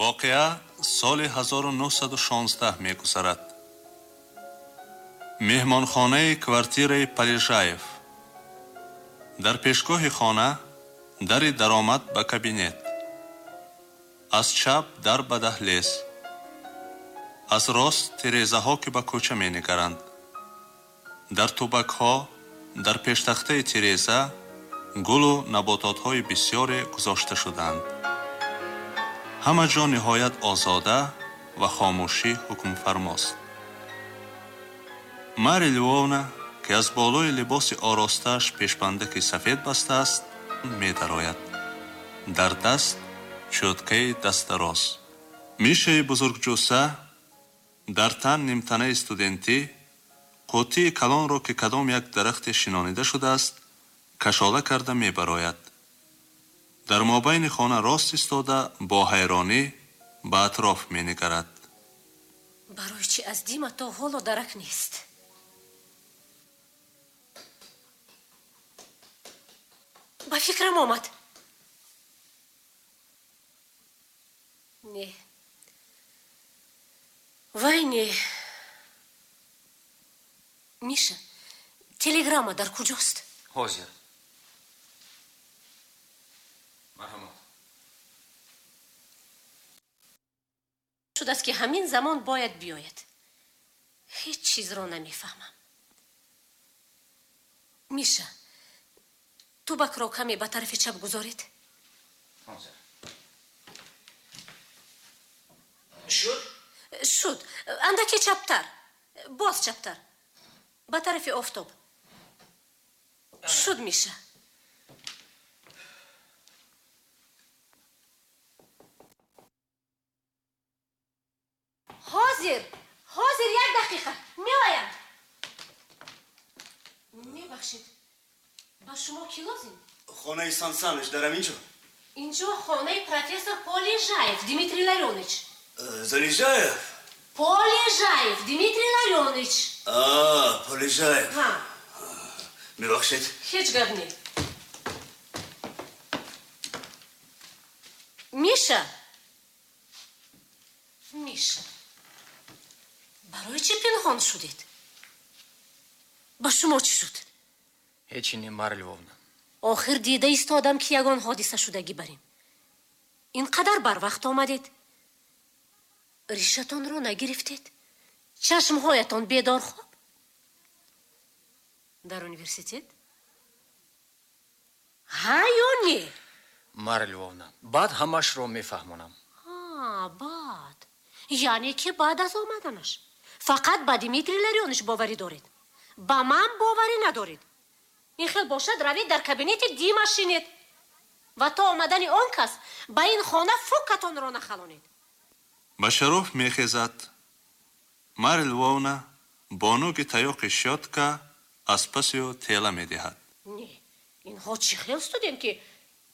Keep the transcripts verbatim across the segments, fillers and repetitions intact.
Воқеа соли ҳазору нуҳсаду шонздаҳ мегузарад. Меҳмонхонаи квартираи Полежаев. Дар пешгоҳи хона дари даромад ба кабинет. Аз чап дар ба даҳлез, аз рост тирезаҳо, ки ба кӯча менигаранд. Дар тубакҳо дар пештахтаи тиреза гулу набототҳои бисёре гузошта шудаанд. Ҳама ҷо ниҳоят озода ва хомӯшӣ ҳукмфармост. Марья Львовна, ки аз болои либоси оростааш пешбандаки сафед бастааст, медарояд. Дар даст чӯткаи дастдароз. Мишаи бузургҷусса дар тан нимтанаи студентӣ қуттии калонро, ки кадом як дарахте шинонида шудааст, кашола карда мебарояд. Дар мобайни хона рост истода бо ҳайронӣ ба атроф менигарад. Барои чӣ аз Дима то ҳоло дарак нест? Ба фикрам омад. Не, вай не. Миша, телеграмма дар куҷост? Ҳозир. Марҳамат. Шудааст, ки ҳамин замон бояд биёяд. Ҳеҷ чизро намефаҳмам. Миша, тубакро каме ба тарафи чап гузоред. Ҳозир. Шуд? Шуд. Андаке чаптар, боз чаптар, ба тарафи офтоб. Шуд, Миша. Ҳозир, ҳозир, як дақиқа меоям. Мебахшед, ба шумо кӣ лозим? Хонаи Сан Саныч дар ҳамин ҷо? Инҷо хонаи профессор Полежаев Дмитрий Ларионыч. Залежаев? Полежаев Дмитрий Ларионыч. А, Полежаев. Мебахшед. Ҳеҷ гап не. Миша, Миша, барои чӣ пинҳон шудед? Ба шумо чӣ шуд? Ҳечи не, Марья Львовна. Охир дида истодам, ки ягон ҳодиса шудагӣ бар ин. Ин қадар барвақт омадед, ришатонро нагирифтед, чашмҳоятон бедор хоб. Дар университет ҳа ё не? Марья Львовна, баъд ҳамашро мефаҳмонам. Баъд, яъне ки баъд аз омаданаш. Фақат ба Дмитрий Ларионыч боварӣ доред, ба ман боварӣ надоред. Ин хел бошад, равед, дар кабинети Дима шинед ва то омадани он кас ба ин хона фукатонро нахалонед. Башароф мехезад. Марья Львовна бо нӯги таёқи щётка аз паси ӯ тела медиҳад. Не, инҳо чӣ хел студент, ки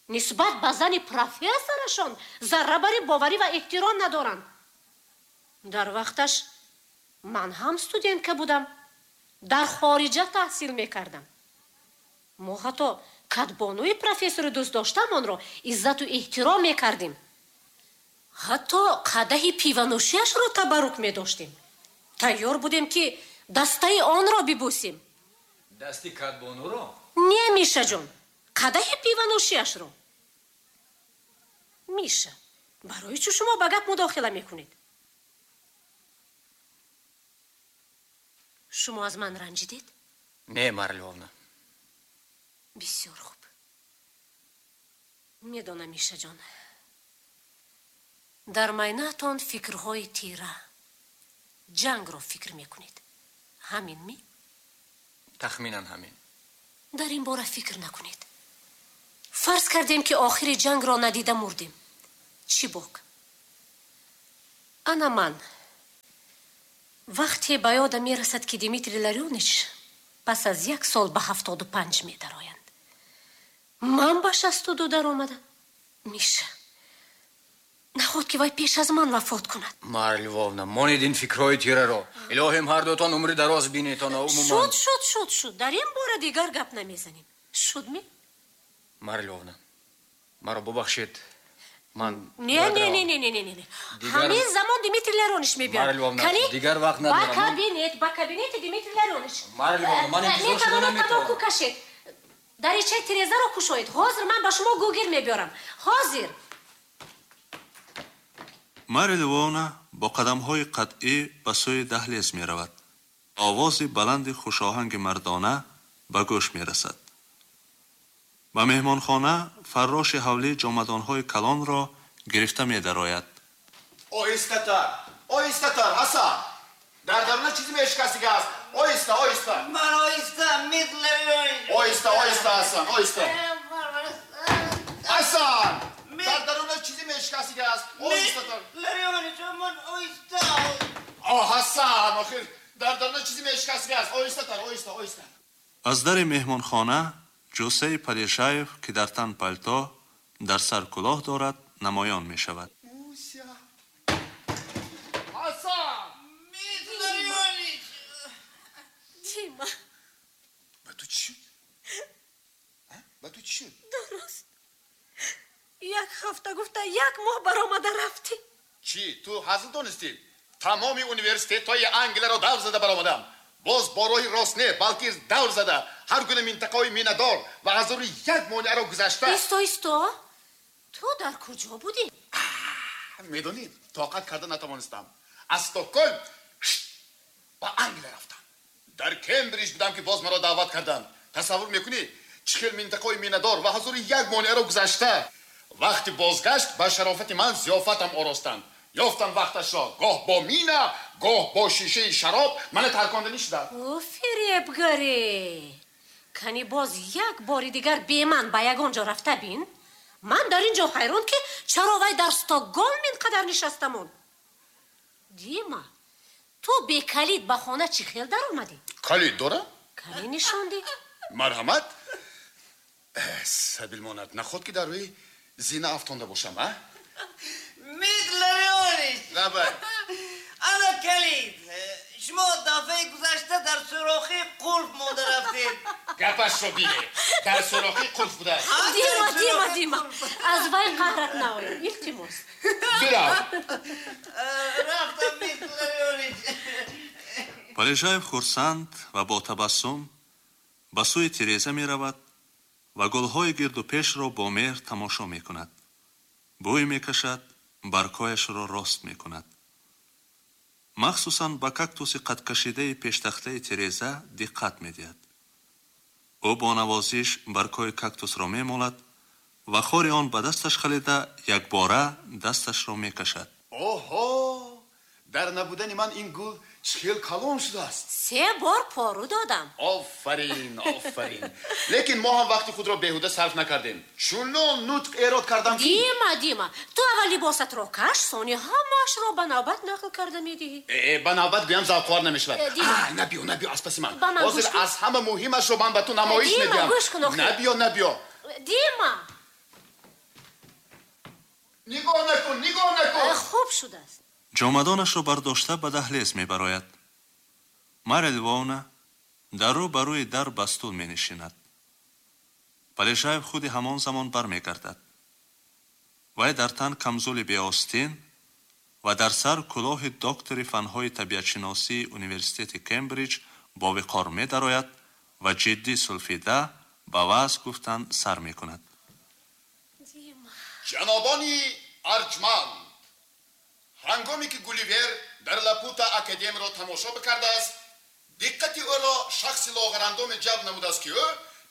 нисбат ба зани профессорашон заррабари боварӣ ва эҳтиром надоранд? Дар вақташ ман ҳам студентка будам, дар хориҷа таҳсил мекардам. Мо ҳатто кадбонуи профессори дӯстдоштаамонро иззату эҳтиром мекардем, ҳатто қадаҳи пиванӯшиашро табаррук медоштем, тайёр будем, ки дастаи онро бибӯсем. Дасти кадбонуро? Не, Мишаҷон, қадаҳи пиванӯшиашро. Миша, барои чӣ шумо ба гап мудохила мекунед? Шумо аз ман ранҷидед? Не, Марья Львовна. Бисёр хуб. Медонам, Мишаҷон, дар майнаатон фикрҳои тира, ҷангро фикр мекунед. Ҳамин ми? Тахминан ҳамин. Дар ин бора фикр накунед. Фарз кардем, ки охири ҷангро надида мурдем, чӣ бок? Ана ман вақте ба ёдам мерасад, ки Дмитрий Ларионыч пас аз як сол ба ҳафтоду панҷ медароянд, ман ба шасту ду даромадам. Миша, наход ки вай пеш аз ман вафот кунад? Марья Львовна, монед ин фикрҳои тираро. Илоҳим, ҳар дутон умри дароз бинетон. Умуман. Шуд, шуд, шуд, шуд. Дар ин бора дигар гап намезанем. Шуд ми? Марья Львовна, маро бубахшед. Ман не не не не не не не. Ҳамин замон Дмитрий Ларионович мебиёд. Кани? Дигар вақт надорам. Ба кабинет, ба кабинети Дмитрий Ларионович. Марья Львовна, ман интизор шуда наметавонам. Тамоку кашед. Даричаи тирезаро кушоед. Ҳозир ман ба шумо гугир мебиёрам. Ҳозир. Марья Львовна бо қадамҳои қатъӣ ба сӯи даҳлез меравад. Овози баланди хушоҳанги мардона ба гӯш мерасад. Ба меҳмонхона фарроши ҳавлӣ ҷомадонҳои калонро гирифта медарояд. Оҳистатар, оҳистатар, Ҳасан. Дар даруна чизе мешикастига аст. Оҳиста, оҳиста. Ман оҳиста, Митлерионич. Оҳиста, оҳиста, Ҳасан, оҳиста. Ҳасан! Дар даруна чизе мешикастига аст. Оҳистатар. Ларионич, ман оҳиста. О, Ҳасан, охир дар даруна чизе мешикастига аст. Оҳистатар, оҳиста, оҳиста. Аз дари меҳмонхона ҷусаи Полежаев, ки дар тан палто, дар сар кулоҳ дорад, намоён мешавад. Ҳасан! Ларионич! Дима! Ба ту чӣ шуд? Ба ту чӣ шуд? Дуруст. Як ҳафта гуфта як моҳ баромада рафтӣ. Чӣ? Ту ҳазл донистӣ? Тамоми университетҳои Англияро давр зада баромадам. Боз бо роҳи рост не, балки давр зада ҳар гуна минтақаҳои минадор ва ҳазору як монеаро гузашта. Исто, исто. Ту дар куҷо будӣ? Медонӣ, тоқат карда натавонистам. Аз Стокгольм ба Англия рафтам. Дар Кембриҷ будам, ки боз маро даъват карданд. Тасаввур мекунӣ, чӣ хел минтақаҳои минадор ва ҳазору як монеаро гузашта. Вақти бозгашт ба шарофати ман зиёфатам оростанд. Ёфтам вақташро гоҳ бо мина, гоҳ бо шишаи шароб мана тарконданӣ шудам. Ӯ фиребгаре! Кани боз як бори дигар бе ман ба ягон ҷо рафта бин. Ман дар ин ҷо ҳайрон, ки чаро вай дар Стокгольм ин қадар нишаста монд. Дима, ту бе калид ба хона чӣ хел даромадӣ? Калид дорам? Калид нишондӣ? Марҳамат. Сабилмонад, наход ки дар рӯи зина афтонда бошам, а? Ларионич! Лабай. Ана калид. Шумо дафъаи гузашта дар сурохи қулф монда рафтед. Гапашро бине. Дар сурохи қулф буда. Дима, Дима, Дима. Аз вай қаҳрат наояд. Илтимос. Бирав. Рафтам, Ларионич. Полежаев хурсанд ва бо табассум ба сӯи тиреза меравад ва гулҳои гирду пешро бо меҳр тамошо мекунад. Бӯй мекашад, баргҳояшро рост мекунад. Махсусан ба кактуси қадкашидаи пештахтаи тиреза диққат медиҳад. Ӯ бо навозиш баргҳои кактусро мемолад ва хори он ба дасташ халида якбора дасташро мекашад. Оҳо! Дар набудани ман ин гул чӣ хел калон шудааст. Се бор пору додам. Офарин, офарин. Лекин мо ҳам вақти худро беҳуда сарф накардем. Чунон нутқ эрод кардам ки... Дима, Дима, ту аввал либосатро каш, сони ҳамаашро ба навбат нақл карда медиҳӣ. Э, ба навбат гӯям завқовар намешавад. Набиё, набиё аз паси ман. Ҳозир аз ҳама муҳимашро ман ба ту намоиш медиҳам. Дима, гӯш кун охир. Набиё, набиё. Дима! Нигоҳ накун, нигоҳ накун. Хуб шудааст. Ҷомадонашро бардошта ба даҳлез мебарояд. Марья Львовна дар рӯ ба рӯи дар ба стул менишинад. Полежаев худи ҳамон замон бармегардад. Вай дар тан камзули беостин ва дар сар кулоҳи доктори фанҳои табиатшиносии университети Кембриҷ бо виқор медарояд ва ҷиддӣ сулфида ба ваъз гуфтан сар мекунад. Ҷанобони арҷманд, ҳангоме ки Гулливер дар Лапута академияро тамошо бикардааст, диққати ӯро шахси лоғарандоме ҷалб намудааст, ки ӯ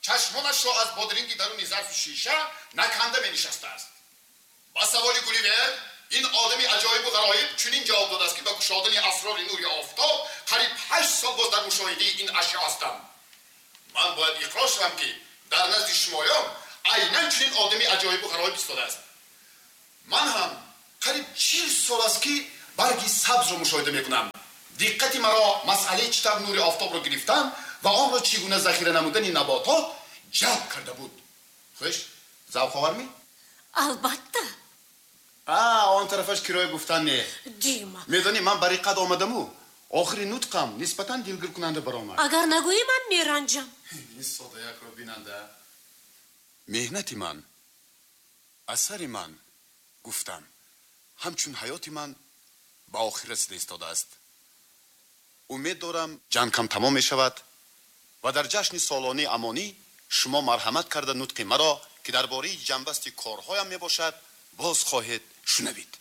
чашмонашро аз бодринги даруни зарфи шиша наканда менишастааст. Ба саволи Гулливер ин одами аҷоибу ғароиб чунин ҷавоб додааст, ки ба кушодани асрори нури офтоб қариб ҳашт сол боз дар мушоҳидаи ин ашё ҳастам. Ман бояд иқрор шавам, ки дар назди шумоён айнан чунин одами аҷоибу ғароиб истодааст. Ман ҳам қариб чил сол аст, ки барги сабзро мушоҳида мекунам. Диққати маро масъалаи чӣ тавр нури офтобро гирифтан ва онро чӣ гуна захира намудани наботот ҷалб карда буд. Хуш, завқовар ми? Албатта. А, он тарафаш кироя гуфтан не. Дима. Медонӣ, ман ба риққат омадаму охири нутқам нисбатан дилгиркунанда баромад. Агар нагӯӣ, ман меранҷам. Ин содаякро бинанда. Меҳнати ман, асари ман Гуфтам, ҳамчун ҳаёти ман ба охир расида истодааст. Умед дорам ҷангам тамом мешавад ва дар ҷашни солонаи амонӣ шумо марҳамат карда нутқи маро, ки дар бораи ҷанбасти корҳоям мебошад, боз хоҳед шунавид.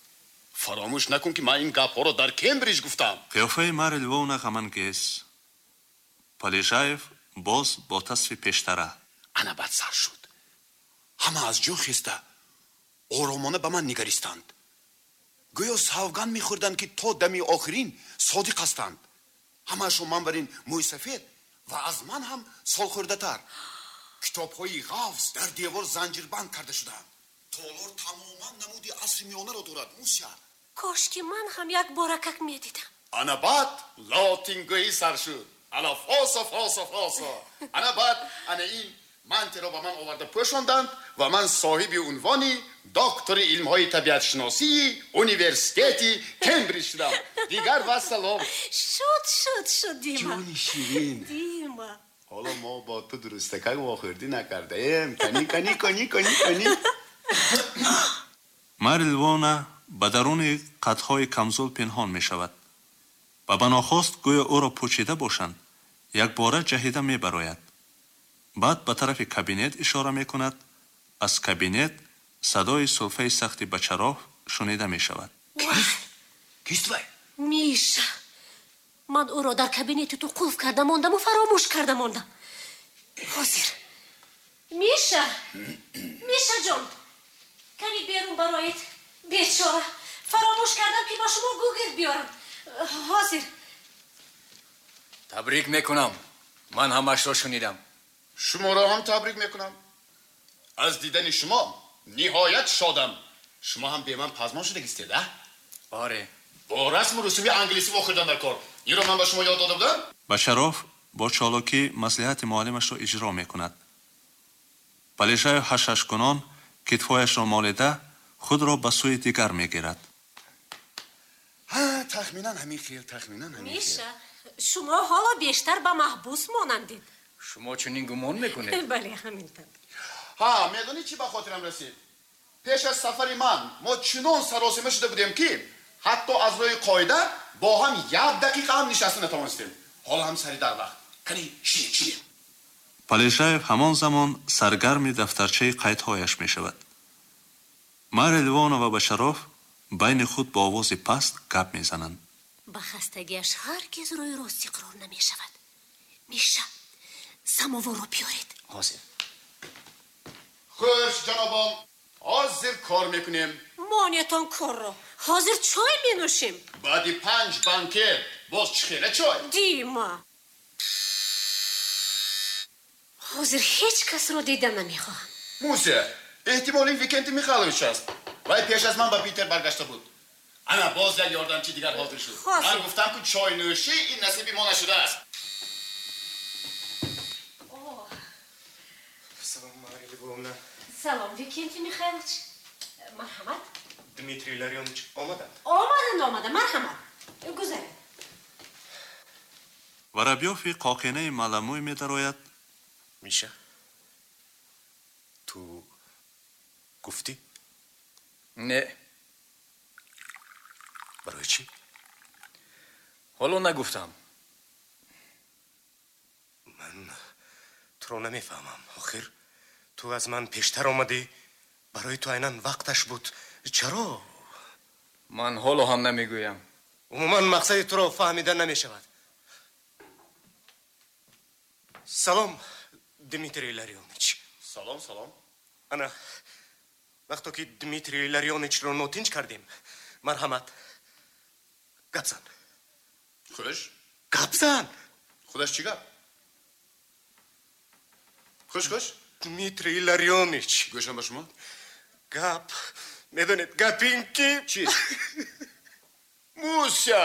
Фаромӯш накун, ки ман ин гапҳоро дар Кембриҷ гуфтам. Қиёфаи Марья Львовна ғамангез. Полежаев боз бо тасфи пештара. Ана бад сар шуд. Ҳама аз ҷо хеста оромона ба ман нигаристанд. Гӯё савганд мехӯрданд, ки то дами охирин содиқ ҳастанд. Ҳамаашон ман бар ин мӯйсафед ва аз ман ҳам солхӯрдатар. Китобҳои ғафз дар девор занҷирбанд карда шудаанд. Толор тамоман намуди асри миёнаро дорад, Муся. Кош ки ман ҳам як боракак медидам. Ана баъд лотингӯӣ сар шуд. Ана фосо, фосо, фосо. Ана баъд ана ин мантиро ба ман оварда пӯшонданд ва ман соҳиби унвони доктори илмҳои табиатшиносии университети Кембриҷ шудам. Дигар вассалом. Шуд, шуд, шуд, Дима. Ҷони ширин. Дима. Ҳоло мо бо ту дурустакак вохӯрдӣ накардаем. Кани, кани, кани, кани, кани. Марья Львовна ба даруни қадҳои камзул пинҳон мешавад ва ба нохост гӯё ӯро пӯчида бошанд, якбора ҷаҳида мебарояд. Баъд ба тарафи кабинет ишора мекунад. Аз кабинет садои сулфаи сахти Бачаров шунида мешавад. Кист вай? Миша. Ман ӯро дар кабинети ту қулф карда мондаму фаромӯш карда мондам. Ҳозир. Миша! Миша ҷон! Кани берун бароед. Бечора. Фаромӯш кардам, ки ба шумо гугирд биёрам. Ҳозир. Табрик мекунам. Ман ҳамашро шунидам. Шуморо ҳам табрик мекунам. Аз дидани шумо ниҳоят шодам. Шумо ҳам бе ман пазмон шудагистед, а? Оре. Бо расму русуми англисӣ вохӯрдан дар кор. Инро ман ба шумо ёд дода будам? Бачаров бо чолокӣ маслиҳати муаллимашро иҷро мекунад. Полежаев ҳашҳашкунон китфҳояшро молида худро ба сӯи дигар мегирад. Ҳа, тахминан ҳамин хел, тахминан ҳамин хел. Миша, шумо ҳоло бештар ба маҳбус монандед. Шумо чунин гумон мекунед? Бале, ҳамин тавр. Ҳа, медонӣ чӣ ба хотирам расид? Пеш аз сафари ман мо чунон саросима шуда будем, ки ҳатто аз рӯи қоида бо ҳам як дақиқа ҳам нишаста натавонистем. Ҳоло ҳам сари дар вақт. Кани, шинед, шинед. Полежаев ҳамон замон саргарми дафтарчаи қайдҳояш мешавад. Марья Львовна ва Бачаров байни худ бо овози паст гап мезананд. Ба хастагиаш ҳаргиз рӯи рост иқрор намешавад. Миша, самоворро биёред. Ҳозир. Хуш, ҷанобон, ҳозир кор мекунем. Монетон корро. Ҳозир чой менӯшем. Баъди панҷ банкет боз чӣ хела чой? Дима. Ҳозир ҳеҷ касро дида намехоҳам. Муся, эҳтимол ин Викентий Михайлович аст. Вай пеш аз ман ба Питер баргашта буд. Ана боз як ёрдамчи дигар ҳозир шуд. Ман гуфтам, ки чойнӯшӣ ин насиби мо нашудааст. Салом, Марья Львовна. Салом, Викентий Михайлович. Марҳамат. Дмитрий Илларионович омаданд? Омаданд, омаданд. Марҳамат. Гузаред. Воробьёв қоқинаи маламӯй медарояд. Миша, ту гуфтӣ? Не. Барои чӣ? Ҳоло нагуфтам. Ман туро намефаҳмам. Охир ту аз ман пештар омадӣ. Барои ту айнан вақташ буд. Чаро? Ман ҳоло ҳам намегӯям. Умуман мақсади туро фаҳмида намешавад. Салом, Дмитрий Илларионович. Салом, салом. Ана, вақто ки Дмитрий Илларионовичро нотинҷ кардем, марҳамат. Гап зан. Хуш? Гап зан. Худаш чӣ гап? Хуш, хуш? Дмитрий Илларионович. Гӯшам ба шумо? Гап. Медонед, гап ин ки... Чӣ? Муся!